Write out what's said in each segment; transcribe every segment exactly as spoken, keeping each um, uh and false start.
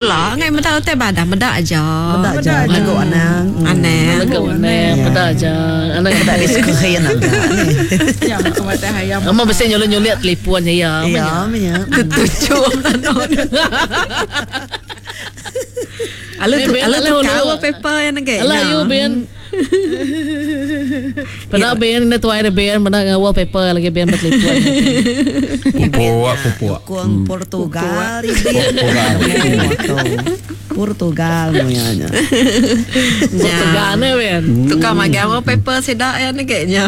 Lah, ngai meda utai badah, meda aja. Meda aja lagu anang. Anang. Lagu anang, meda aja. Anang meda di screen aja. Ya, mata hayam. Ama mesti nyulit-nyulit telefon ya. Ya, ya. Tutup tanah. Alu tu, alu tu kau paper yang nage. Alah you ben. Pernah ben ni tuai dia ben, pernah wallpaper lagi ben bertelefon. Pupuk, pupuk. Kuang Portugal ini. Portugal muanya. Portugal ni ben. Tukar magai wallpaper sedak yang nage nya.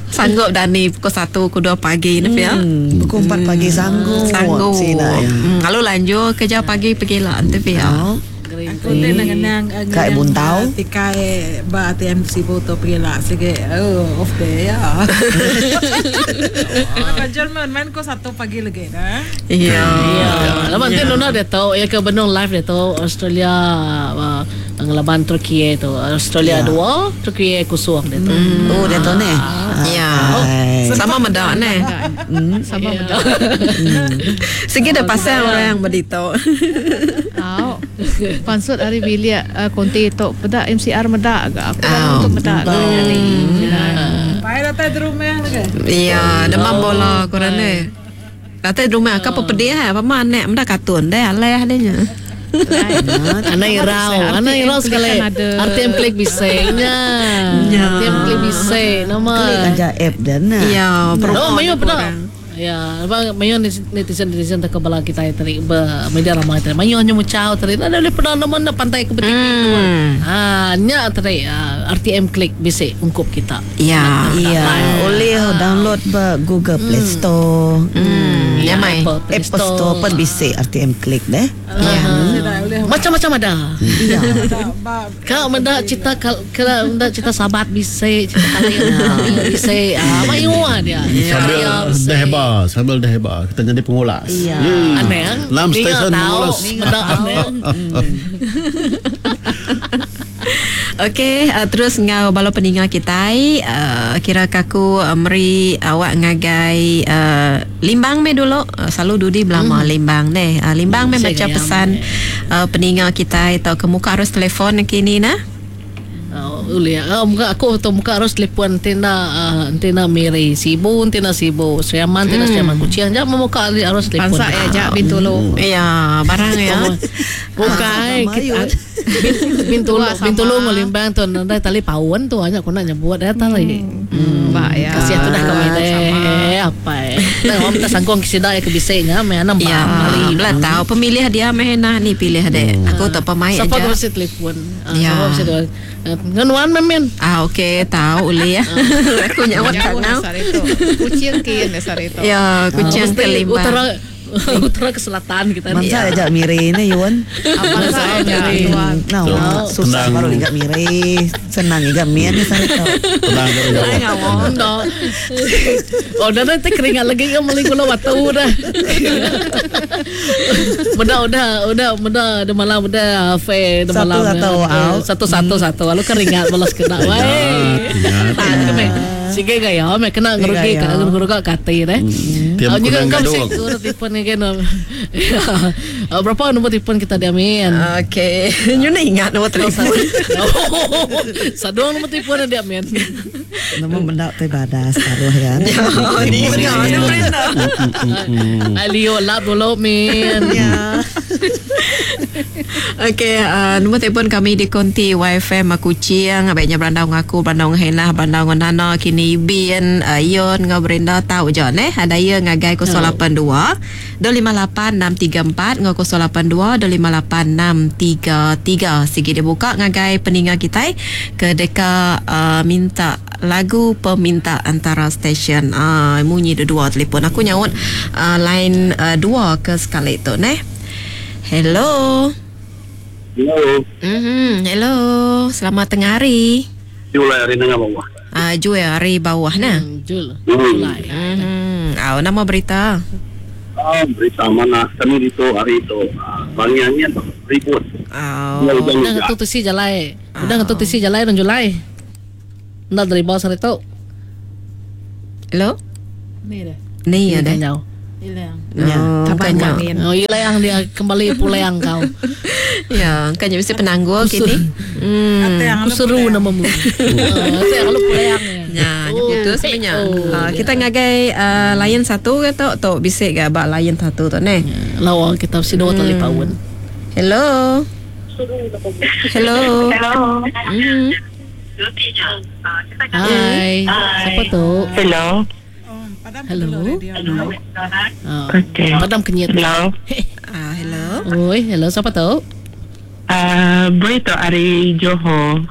Sanggup dah ni pukul satu pukul dua pagi ni ya. Hmm, pukul empat pagi sanggup. Sanggup. Hmm, lalu lanjut kerja pagi pergi lah nanti ya. Aku tu nang nang kai buntau tikai ba A T M sibu tu pergi lah sige oh off day ya. Kerja main main ko satu pagi lagi dah. Iya. Lama nanti Nona dia tahu ya ke benung live dia tahu Australia ngelaban Turki tu. Australia dua, Turki kosong dia tu. Oh dia tahu ni. Ya. Sama medak ni. Sama medak. Sige dah pasal orang berdito. Tahu. Pansut hari bilik konti tu pedak M C R medak agak aku untuk medak jadi. Pai datang di rumah lagi. Iya, demam bola korang ni. Datang di rumah aku apa pedih apa mana medak kartun deh aleh adanya. Anak irau, anak irau sekali. R T M klik bisingnya. R T M klik bising nama. Klik aja app dan. Iya, oh, mayu pedak. Ya, abang mayu netizen netizen tak kebala kita tadi be media ramai tadi. Mayu hanya mucau tadi. Ada boleh pernah nama nak pantai ke betik itu. Ah, nya tadi R T M klik bisik ungkup kita. Ya, iya. Boleh download be Google Play Store. Hmm, ya mai. Apple Store pun bisik R T M klik deh. Ya. Macam-macam ada. Iya. Kau mendak cerita kalau mendak cerita sahabat bisik, cerita kali bisik. Ah, mayu dia. Sambil dehba, sambil dehba kita jadi pengulas. Iya. Aneh. Lam stesen mengulas. Okey, uh, terus ngau bala peninga kita uh, kira kaku uh, meri awak ngagai uh, Limbang me dulu uh, selalu dudi belama hmm. Limbang ne. Uh, Limbang me baca pesan uh, peninga kita atau ke muka arus telefon kini nah. Boleh. Oh, muka aku tu muka harus telefon tina uh, tina Miri Sibu tina Sibu Siaman tina Siaman Kucing jap muka harus telefon. Pansak ya jap Bintulu. Ya, barang ya. Bukan kita Bintulu Bintulu ngelimbang tu nanti tali paun tu hanya aku nak nyebut dah tali. Mbak ya. Kasih tu dah kami deh apa eh. Nah, om tak sangkong kisida ya kebisiknya me enam ya, belah tahu pemilih dia meh nah ni pilih deh. Aku tak pemain aja. Siapa mesti telefon. Ya. Siapa mesti ngenuan memen. Ah okey tahu uli ya. Aku nyawa tak tahu. Kucing kin dasar itu. Ya, kucing kelima. Utara utara ke selatan kita ni. Masa aja miri ni Yun. Apa saja tuan. Nah, susah baru ingat miri, senang ingat mian ni saya tahu. Tenang ke. Oh, dah nanti keringat lagi ke meli gula batu dah. Benda udah udah benda ada malam udah fe ada malam. Satu satu satu satu lalu keringat balas kena weh. Sige gaya, me kena ngerugi ka ngerugi kati deh. Tiap juga kunang kau gaduk. sih telefon ni kan. Berapa nombor telefon kita diamin? Okey, you nak ingat nombor telefon. Sadong nombor telefon dia amin. Nombor benda tu badas taruh kan. Ni benar, ni benar. Alio lap dulu min. Ya. Okey, uh, nombor telefon kami di Konti Y F M Kuching, baiknya berandau ngaku, berandau henah, berandau nana kini Bin, uh, Yon ngau Brenda tahu je neh. Ada ya ngagai kosong lapan dua dua lima lapan enam tiga empat ngau kosong lapan dua dua lima lapan enam tiga tiga. Sigi dia buka ngagai peninga kita ke deka uh, minta lagu peminta antara stesen. Ah uh, munyi dua telefon aku nyaut uh, line uh, dua ke sekali tu neh. Hello. Hello. Mhm, hello. Selamat tengah hari. Julai hari tengah bawah. Ah, uh, Julai hari bawah nah. Hmm, Jul. Julai. Mhm. Ah, nama berita. Ah, berita mana kami itu hari itu. Bangiannya ribut. Oh. Udah ngetu tisi jalai. Udah ngetu tisi jalai dan Julai. Ndak dari bawah sari tu. Hello. Ni dah. Ni ada. Ilang. Ya. Oh, Tabang kanya. kami. Oh, ilang dia kembali pulang kau. Ya, kanya mesti penanggul kini. Hmm. Aku seru namamu. Oh, saya kalau pulang. Ya, oh, putus sebenarnya. Oh, Uh, kita ngagai uh, layan satu ke tu tu bisik ke bak layan satu tu ne. Lawa kita si dua tali paun. Hello. Hello. Hello. Mm. Hai. Siapa tu? Hello. Hello. Oh, Okay. Padam kenyit. Hello. Ah, hello. Oi, hello siapa tu? Uh, Bri tu ari Johor.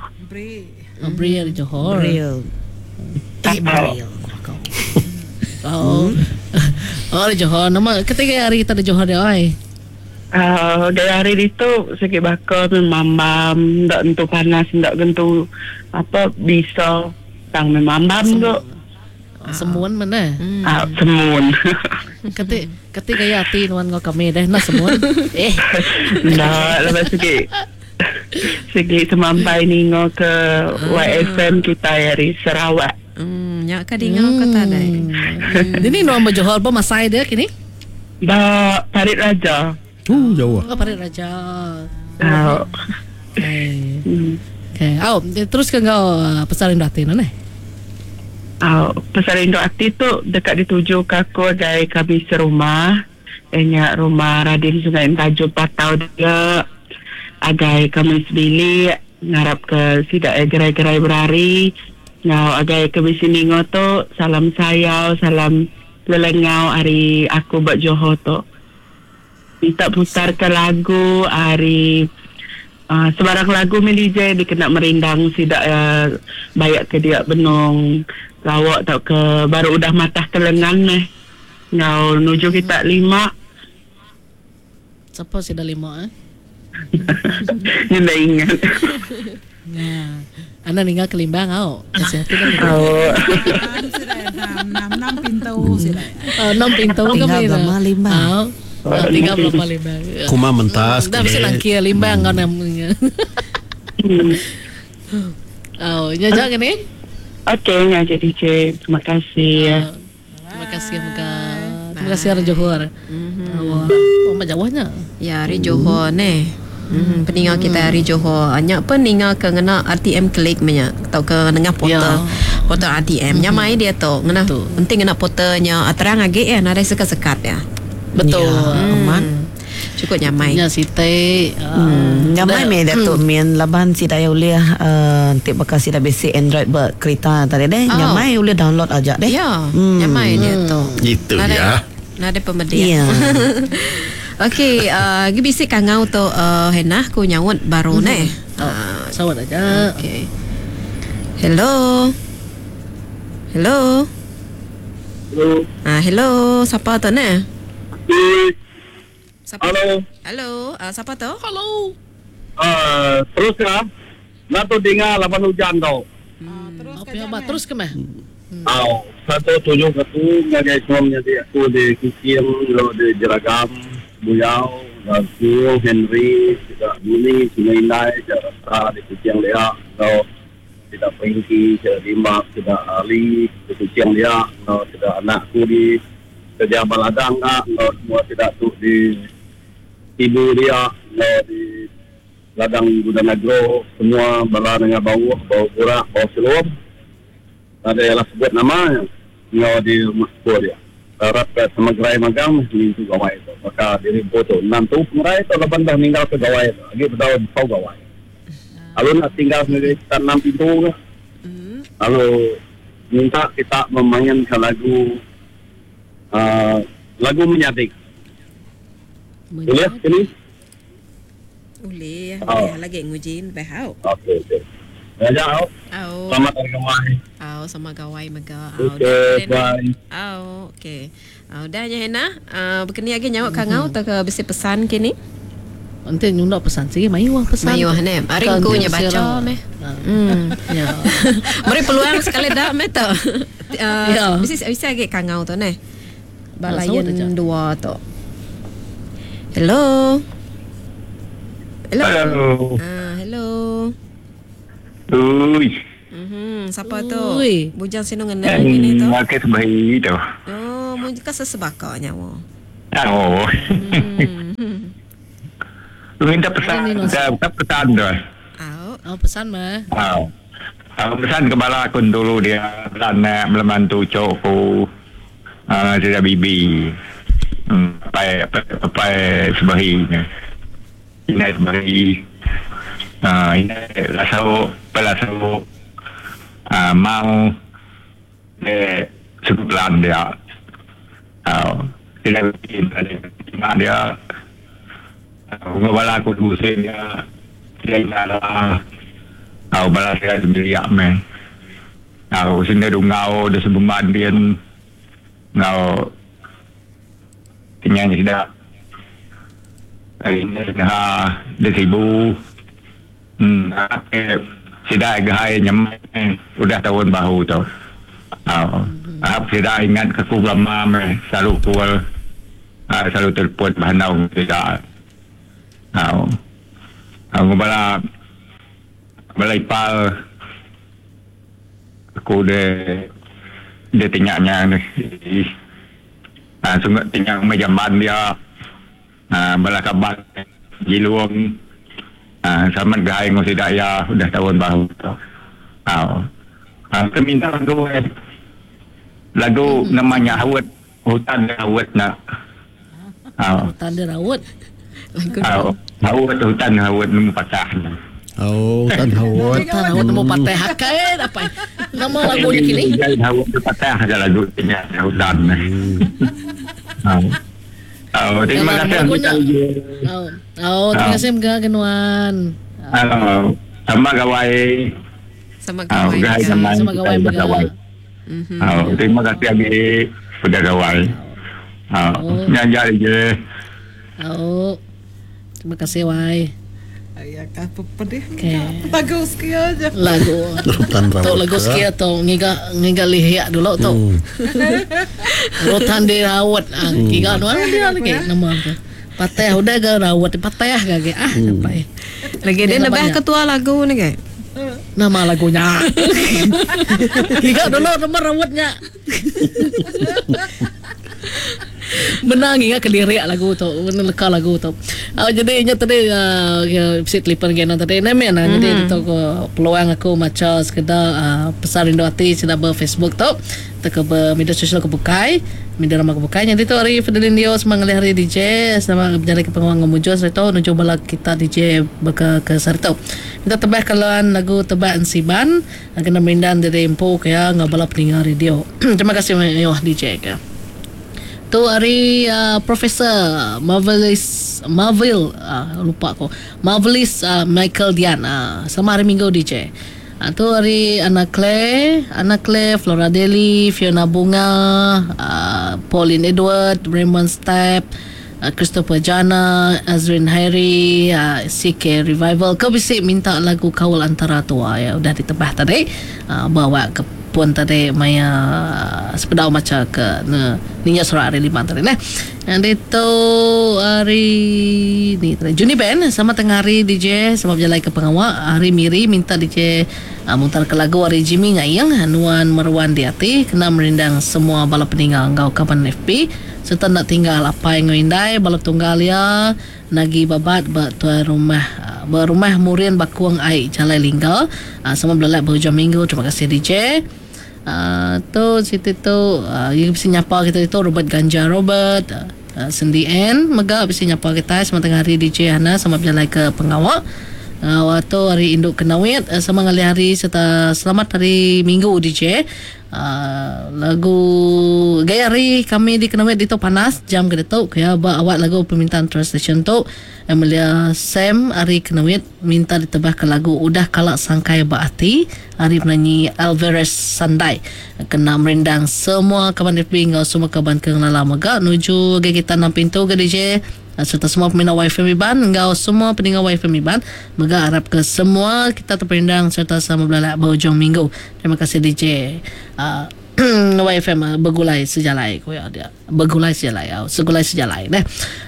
Oh, Bri dari Johor. Real. Tak Real. Oh. Oh, dari Johor. Nama ketiga hari kita di Johor dia, oi. Uh, dari hari itu sakit bakar memambam, ndak entu panas, ndak gentu apa bisa tang memambam tu. Semuan mana? Ah, semun. Keti keti gaya hati nuan ngau kami deh nak semuan. Eh, Ndak lepas sikit. Sikit semampai ningo ke Y F M kita dari Sarawak. Hmm, nyak ka dingau kata dai. Ini nuan Johor ba masai dia kini? Ba Parit Raja. Uh, jauh. Oh, Parit Raja. Ah. Okay. Hmm. Okay. Oh, terus ke kau pasal rindu hati nane? Uh, pasal rindu hati tu dekat dituju ke aku dari kami serumah. Enya rumah Radin Sungai Entajo Patau dia. Agai kami sebilik ngarap ke sidak eh, gerai-gerai berari. Ngau agai ke sini tu salam sayau, salam lelengau hari aku buat Johor tu. Minta putar ke lagu hari Uh, sebarang lagu mi D J dikena merindang sidak uh, bayak ke dia benung lawak tak ke baru udah matah ke lengan meh. Ngau nuju kita lima. Siapa sih dah lima eh? Ni dah ingat. Ya. Anda ninggal ke Limbang au. Kasih hati kan. Oh. Enam enam pintu sila. Oh, enam pintu Tinggal kami. belama Limbang. Au. Oh, tinggal belama Limbang. Kuma mentas. Dah mesti nangkia Limbang kau namanya. Oh, nya jangan ni. Okey, ngah jadi D J. Terima kasih. Oh, terima kasih Mega. Terima kasih orang Johor. Mm-hmm. Oh, macam jauhnya. Ya, hari Johor ne. Hmm, peningal kita hari Johor. Anyak pun ningal ke ngena R T M klik menya atau ke nengah portal. Ya. Portal R T M. Nya mai dia tu. Ngena penting ngena portalnya terang agi ya, nadai sekat-sekat ya. Betul. Ya, aman. Cukup nyamai. Nya site. Hmm, nyamai me Datuk Min laban si daya ulih uh, nanti bakal si dah basic Android ber kereta tadi deh. Oh. Nyamai ulih download aja deh. Ya, Hmm. nyamai dia tu. Itu Nadai- ya. Nadai pemedian. Ya. Okey, uh, gi bisik kangau tu uh, Henah ku nyaut baru mm-hmm. ne. Oh, sawat aja. Okey. Hello. Hello. Hello. Ah, hello, siapa tu ne? Siapa? Hello. Hello, uh, siapa tu? Hello. Uh, terus ya. Nak tu dengar lapan hujan tau. Terus Apa yang terus ke meh? Aw, satu tujuh satu ngagai semua menjadi aku di Kucing, lo di Jeragam, Buyau, Rasul, Henry, tidak Buni, Sungai Indai, tidak Rasa di Kucing dia, lo tidak Pengki, tidak Dimak, tidak Ali di Kucing dia, lo tidak anakku di kerja baladang kak, lo semua tidak tu di ibu dia, lo di ladang gudang agro, semua bala dengan bau, bau burak, bau silom. Ada yang lah sebut nama ngau di rumah sepuluh dia. Harap ke sama gerai magang ni tu gawai itu. Maka diri boto enam tu pengerai itu laban dah meninggal ke gawai itu. Lagi berdaun pau gawai. Lalu nak tinggal sendiri kita enam pintu ke. Lalu minta kita memainkan lagu uh, lagu menyadik. Boleh sini? Boleh, Oh. boleh lagi ngujin behau. Okey okey. Raja, au. Au. Selamat hari gawai. Au sama gawai mega. Au. Okey, dah, bye. Au, okey. Au dah nya Hena. Uh, berkeni lagi nyawa kangau tak ke besi pesan kini? Nanti nyundak pesan sih, mayu ah pesan. Mayu ah ne. Hari Kan ku nya dia baca serang. meh. Ah. Hmm. Ya. Beri peluang sekali dah meh tu. Uh, Ya. Bisi bisi lagi kangau tu ne. Ah, sawat aja. Balayan dua tu. Hello. Hello. Hello. Ah, hello. Ui. Mhm, siapa tu? Ui. Bujang sino ngena gini tu. Makan sebaik tu. Oh, Mun ka sesebaka nyawa. Oh. Minta pesan, minta pesan tu. Oh, pesan mah. Oh. Aku pesan ke bala aku dulu dia anak melembantu cokku. Ah, uh, bibi. Hmm, pai pai sebahi. Ini sebahi. Ah, ini lasau, pelasau. Ah, mau eh sebulan dia. Ah, tidak bikin ada dia. Bala aku musim dia. Dia lah. Aku bala saya sendiri meh. Aku sendiri ngau dia sebemban dia ngau tinggal tidak. Ini ha dia sibuk. Hmm, tidak gahai nyamai udah tahun bahu tu. Aku tidak ingat ke aku lama meh selalu call, selalu telefon bahanau tidak. Aku aku bala bala ipal aku dia dia tinggalnya ni. Ah, sungai tinggal mejaman dia. Ah, bala kabar jiluang. Ah, sama gaya ngau tidak ya udah tahun baru tu. Ah, ah, minta lagu eh. Lagu hmm. namanya Hawat hutan Hawat nak. Ah, hutan dia rawat. Lagu ah, Hawat hutan Hawat nemu patah. Oh, hutan Hawat. Hutan Hawat nemu patah hakai apa? Nama lagunya kini? Hawat patah aja lagunya hutan. Ah. Oh, terima kasih. Oh, oh, terima kasih mga kenuan. Oh, sama gawai. Sama gawai. Sama gawai gawai. Oh, terima kasih abi sudah gawai. Oh, nyanyi je. Oh. Terima kasih wai. Ya kan pedih. Lagu sekia aja. Lagu. Tok lagu sekia tu ngiga ngiga lihiak dulu tu. Rotan dia rawat ah ngiga nuan dia lagi nama tu. Patah udah ke rawat patah ke ah sampai. Lagi dia lebih ketua lagu ni ke? Nama lagunya. Ngiga dulu nama rawatnya. Menang ingat ke lirik lagu tu, menelka lagu tu. Oh, jadi ingat tadi uh, sit telefon gena tadi nama nah. Mm-hmm. Jadi tu peluang aku maca sekedar uh, pesan rindu hati sudah ber Facebook tu, atau ke media sosial ke bukai, media ramah ke bukai. Jadi tu hari Fidelin Dio semang hari D J sama berjalan ke pengawang ngemujo serta nuju bala kita D J berke ke serta. Minta tebah kalian lagu tebak ensiban kena merindan dari empu kaya ngabala peninga radio. Terima kasih yo D J ke. Tu hari uh, Profesor Marvelis Marvel uh, lupa aku Marvelis uh, Michael Dian uh, sama hari Minggu D J. Uh, tu hari Anna Claire, Anna Claire, Flora Deli, Fiona Bunga, uh, Pauline Edward, Raymond Stepp, uh, Christopher Jana, Azrin Harry, uh, C K Revival. Kau bisa minta lagu Kawal Antara Tua ya udah ditebah tadi uh, bawa ke pun tadi maya sepedau macam ke ne ninya surat hari lima tadi nah. Yang itu hari ni tadi Juni Ben sama tengah hari D J sama berjalan ke pengawak hari Miri minta D J uh, mutar ke lagu hari Jimmy Ngayang Nuan Meruan di hati kena merindang semua bala peninggal ngau kapan F B serta nak tinggal apa yang ngindai bala tunggal ya nagi babat ba tuan rumah berumah Murian Bakuang Aik Jalai Linggal uh, sama berlelak berhujung minggu. Terima kasih D J. Uh, tu cerita tu uh, yang bisa nyapa kita itu Robert Ganja Robert uh, Sendi N mega bisa nyapa kita sama tengah hari D J Hana sama berjalan ke pengawak uh, waktu hari induk kenawit uh, sama ngalih hari serta selamat hari Minggu D J. Uh, lagu gaya hari kami di Kenawit di tu panas jam ke tu kaya ba awak lagu permintaan translation tu Emilia Sam hari Kenawit minta ditebah ke lagu Udah Kalak Sangkai Baati hari penyanyi Alvarez Sandai kena merindang semua kawan F B ngau semua kawan kenala mega nuju ke kita enam pintu ke D J serta semua peminat Y F M Iban ngau semua pendengar Y F M Iban mega harap ke semua kita terperindang serta sama belalak berhujung minggu. Terima kasih D J. Uh, Y F M begulai sejalai ko ya dia. Begulai sejalai au, segulai sejalai deh.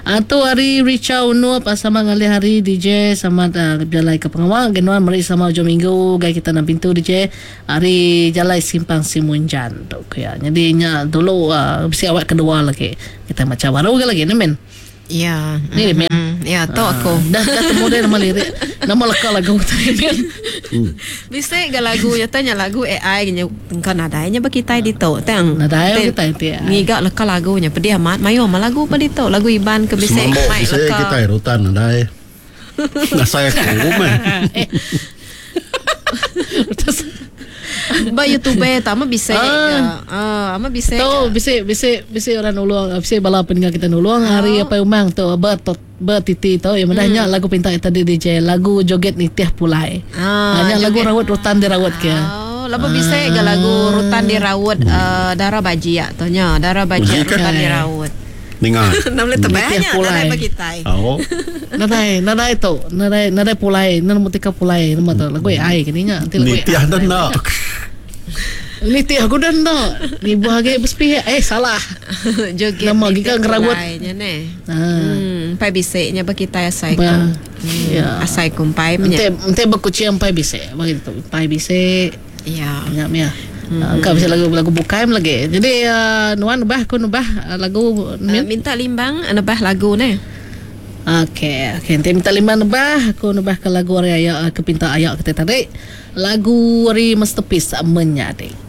Atu hari Richard Unup sama ngalih hari D J sama uh, jalai ke pengawal genuan meri sama hujung minggu gai kita nang pintu D J hari jalai simpang Simunjan tu ko ya. Jadi nya dulu uh, bisi awak kedua lagi. Kita macam baru ke lagi ne men. Ya. Ni mm-hmm. Mm. Ya, tu aku. Dah dah temu dia nama lirik. Nama leka lagu tadi men. Bisa ga lagu ya tanya lagu A I nya engkau nadai nya berkitai di tu tang. Nadai kita ti. Ngiga leka lagu nya pedih amat mayu amat lagu pa ditu lagu Iban ke bisa mai leka. Kita rutan nadai. Ngasai aku meh. Ba YouTube ta mah bisa ah uh, ama bisa. Tu bisa bisa bisa orang nulung, bisa bala pendengar kita nulung hari apa umang tu ber bertiti tu yang madahnya hmm. lagu pinta tadi D J lagu joget nitih pulai. Ah, hanya lagu rawat rutan dirawat ke. Oh, lapa bisa ke lagu rutan dirawat uh, darah bajia tu nya, darah bajia rutan dirawat. Dengar. Nam le tebanya nadai bagi tai. Oh. Nadai, nadai tu, nadai nadai pulai, nang mutika pulai nama tu lagu A I kini nya, nanti lagu nitih dan nak. Nitih aku dan nak. Ni buah age bersepih eh salah. Joget. Nama gika ngerawat nya ne. Hmm, pai bisik nya bagi tai asai ku. Ya. Asai ku pai nya. Ente ente berkucing pai bisik, bagi tu pai bisik. Ya. Nya mia. Mm-hmm. Kau bisa lagu lagu bukai lagi. Jadi uh, nuan nebah aku nebah uh, lagu uh, minta limbang nebah lagu ne. Okey, okey. Nanti minta limbang nebah aku nebah ke lagu hari ayak ke pinta ayak kita tadi. Lagu hari Masterpiece Menyadi.